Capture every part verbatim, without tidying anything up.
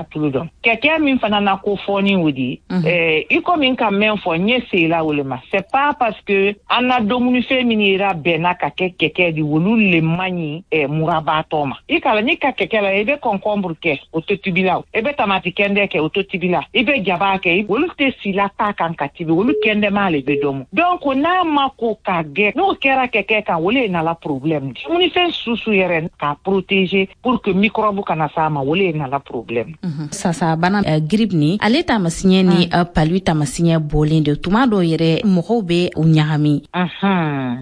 Tulu dɔn kɛkɛ min fana na ko fɔni o di eh, i komi n ka mɛn fɔ n ye sela o le ma. C'est pas parce que an na dumunifɛn min yera bɛnna ka kɛ kɛkɛ di, olu le man ɲi eh, murabaatɔ ma. I kala n'i ka kɛkɛ la, i bɛ concombre kɛ, o tɛ tibi la. I bɛ tamati kɛndɛ kɛ, o tɛ tibi la. I bɛ jaba kɛ, olu tɛ sila ta kan ka tibi, olu kɛndɛma le bɛ dɔmu. Donc n'a ma ko ka gɛ, n'o kɛra kɛkɛ kan, o le nala problème di. Dumunifɛn susu yɛrɛ k'a protéger pour que microbe kana s'a ma, o le nala problème. Sasa bana uh, grippe ni ale taamasiɲɛ ni uh, palu taamasiɲɛ bɔlen de, tuma dɔw yɛrɛ mɔgɔw bɛ u ɲagami.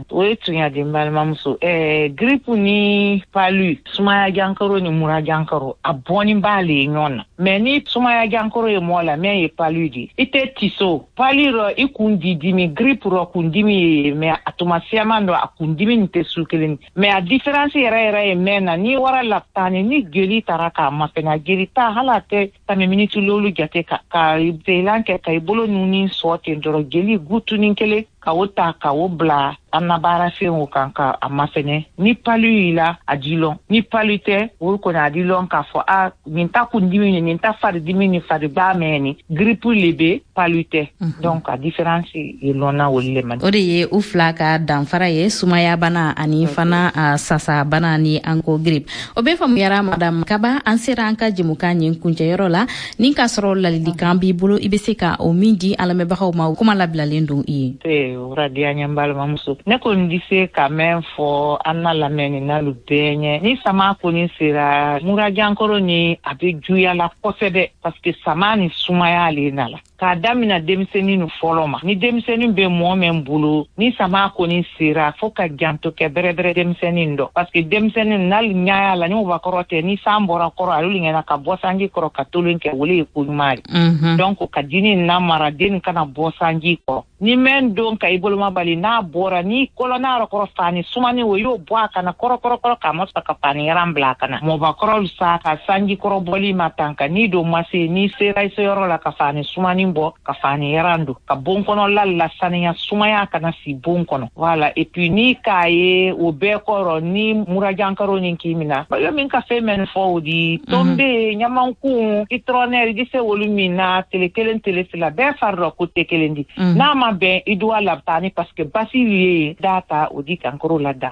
O ye tunya di, n balimamuso. eh, grippe ni palu, sumaya jankaro ni mura jankaro, a bɔnni b'ale ye ɲɔgɔn na. Mais ni sumaya jankaro ye mɔɔ la, min ye palu di, i tɛ tiso palu rɔ, i kun di dimi. Grippe rɔ, kun dimi ye, mais a tuma siyaman dɔ, a kun dimi nin tɛ su kelen. Mais a différence yɛrɛ yɛrɛ ye mɛn na, n'i wara lapitani, ni jeli taara k'a mafɛnɛ, a jeli ta hali a tɛ tɛmɛ miniti lolu jate ka ka zelan kɛ ka i bolo nuni sɔ ten dɔrɔn, jeli gutunin kelen ka o ta ka o bila an na baarafɛnw kan ka a mafɛnɛ. Ni palu y'i la, a di lɔn. Ni palu tɛ, o kɔni a di lɔn k'a fɔ a nin ta kundimi ni nin ta faridimi ni fariba mɛn ni grippe le bɛ, palu tɛ. Donc a différence ye lɔnna olu le ma. O de ye u fila ka danfara ye, sumaya bana ani fana sasa bana ni an ko grippe. O bɛɛ faamuyara, madame Kaba. An sera an ka jɛmukan ɲin kuncɛyɔrɔ la. Ni k'a sɔrɔ ladilikan b'i bolo, i bɛ se ka o min di an lamɛnbagaw ma, kuma labilalen don i ye. O diya n ye, n balimamuso. Ne kɔni di se ka mɛn fɔ an na lamɛnni n'alu bɛɛ ɲɛ, ni sama kɔni sera, murajankɔrɔ ni a bɛ juguya la kosɛbɛ, parce que sama ni sumaya le nala k'a damina denmisɛnnin nu fɔlɔ ma. Ni denmisɛnnin bɛ mɔɔ min bolo, ni sama kɔni sera, fo ka janto kɛ bɛrɛbɛrɛ denmisɛnnin dɔ, parce que denmisɛnnin n'ali ɲaya la ni mɔgɔkɔrɔ tɛ, ni san bɔra kɔrɔ, alu ɲɛna ka bɔ sanji kɔrɔ ka tolon kɛ, o le ye ko ɲuman ye. Donc ka dini namara den kana bɔ sanji kɔrɔ. Ni mɛn don ka i boloma bali, n'a bɔra ni kɔlɔnna yɔrɔ kɔrɔ, fani sumani o y'o bɔ a kana kɔrɔ kɔrɔ kɔrɔ k'a ma sɔrɔ ka fani yaran bila a kana. Mɔbakɔrɔw sa ka sanji kɔrɔ bɔli ma tan ka n'i don ma se, n'i sera i seyɔrɔ la, ka fani sumani bɔ ka fani yaran don ka bon kɔnɔla lasaniya, sumaya kana si bon kɔnɔ. Voilà. Et puis ni k'a ye o bɛɛ kɔrɔ, ni murajankaro ni k'i mina yo min ka fɛn mɛn fɔ o di, tombe, ɲamankun, citronnelle, i di se olu min na tele kelen tele fila bɛɛ fari dɔ ko tɛ kelen di. N'a ma bɛn, i duwa labitani, parce que basi ye da ta o di kankoro la da.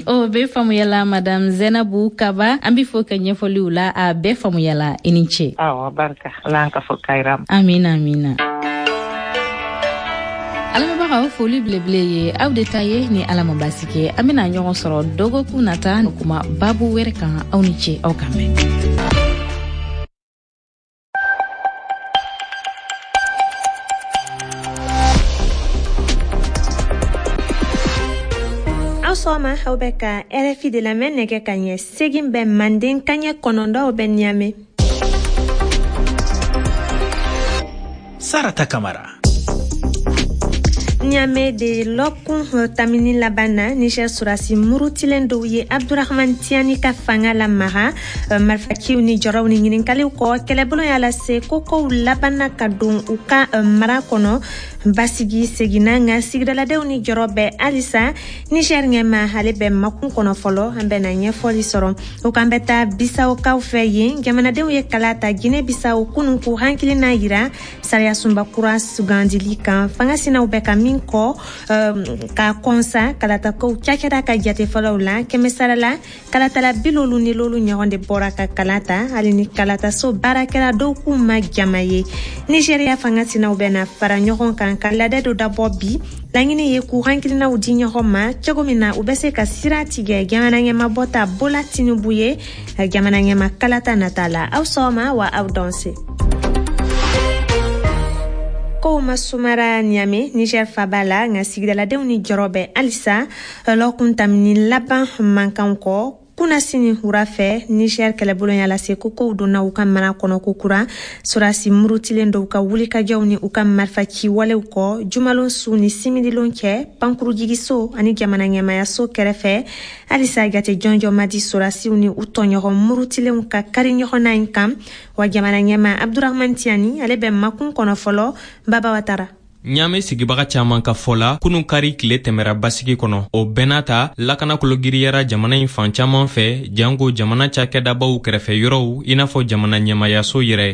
O bɛɛ faamuyala, madame Zenabu Kaba. An bɛ fo ka ɲɛfɔliw la, a bɛɛ faamuyala. I ni ce. Awɔ, barika Ala an ka fɔ kayira. Amina, amina. Alamɛbagaw, foli belebele ye aw de ta ye. Ni Ala ma basi kɛ, an bena ɲɔgɔn sɔrɔ dɔgɔkun nata kuma babu wɛrɛ kan. Aw ni ce, aw kan bɛn. Aw sɔgɔma, aw bɛ ka R F I de lamɛn, nɛgɛ ka ɲɛ segin bɛ manden kaɲɛ kɔnɔntɔn bɛ Niamey. Sarata Kamara. Niamey de lɔkun tamini laban na, Niger surasi murutilen dɔw ye Abdurahman Tiani ka fanga lamaga marifaciw ni jɔrɔw ni ɲininkaliw kɔ. Kɛlɛbolo y'a lase ko kow labanna ka don u ka mara kɔnɔ, basigi seginna, nka sigidaladenw ni jɔrɔ bɛ halisa. Niger ɲɛma ale bɛ makun kɔnɔ fɔlɔ, an bɛna ɲɛfɔli sɔrɔ o kan. Bɛ taa Bisawkaw fɛ yen, jamanadenw ye kala ta Guinée Bissau kunun k'u hakilina yira sariyasunba kura sugandili kan. Fanga sinaw bɛ ka min kɔ ka kɔnsa kalatakow cakɛda ka jate fɔlɔw la, kɛmɛ sara la kalatala bilolu ni lolu ɲɔgɔn de bɔra ka kala ta, hali ni kalataso baarakɛla dɔw k'u ma jama ye. Nigeriya fanga sinaw bɛna fara ɲɔgɔn kan ka ladɛ dɔ dabɔ bi. Laɲini ye k'u hakilinaw di ɲɔgɔn ma cogo min na u bɛ se ka sira tigɛ jamana ɲɛmabɔ ta Bola Tinubu ye jamana ɲɛma kalata nata la. Aw sɔgɔma wa aw danse. Kow ma sumara Niamey, Niger faba la, nka sigidaladenw ni jɔrɔ bɛ halisa lɔkun tamini laban mankan kɔ. Kunasini wura fɛ, Niger kɛlɛbolo y'a lase ko kow donna u ka mara kɔnɔ ko kura, surasi murutilen dɔw ka wulikajɔw ni u ka marifaci walew kɔ jumalon su ni simidilon cɛ pankurujigiso ani jamana ɲɛmayaso kɛrɛfɛ. Halisa jate jɔnjɔn ma di surasiw ni u tɔɲɔgɔn murutilenw ka kari ɲɔgɔn na in kan. Wa jamana ɲɛma Abdurahman Tiani ale bɛ makun kɔnɔ fɔlɔ. Baba Watara. Ɲaamɛ sigibaga caaman ka fɔ la, kunu kari tile tɛmɛra basigi kɔnɔ. O bɛɛ n'a ta, lakana kologiriyara jamana in fan caaman fɛ, janko jamana cakɛdabaw kɛrɛfɛ yɔrɔw, i n'a fɔ jamana ɲɛmayaso yɛrɛ.